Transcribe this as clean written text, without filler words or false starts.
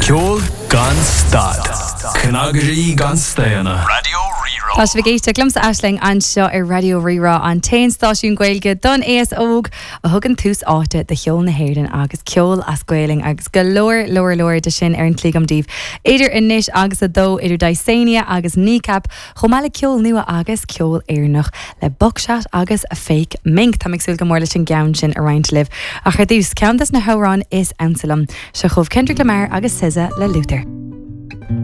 Ceol gan stad. Cnagairí gan staonadh. Raidió Rí-Rá. Tá sibh ag éisteacht liomsa Aisling anseo ar Raidió Rí-Rá, an t-aon stáisiún Gaeilge don aos óg a thugann tús áite do cheol na hÉireann agus ceol as Gaelainn agus go leor leor leor de sin ar an tslí agam daoibh idir anois agus a dó, idir Dysania agus Kneecap, chomh maith le ceol nua agus ceol Éireannach le Buckshot agus Fake Mink. Táim ag súil go mór leis an gceann sin a roinnt libh. Ach ar dtús, ceann des na hamhráin is ansa liom. Seo chugaibh Kendrick Lamar agus SZA le Luther.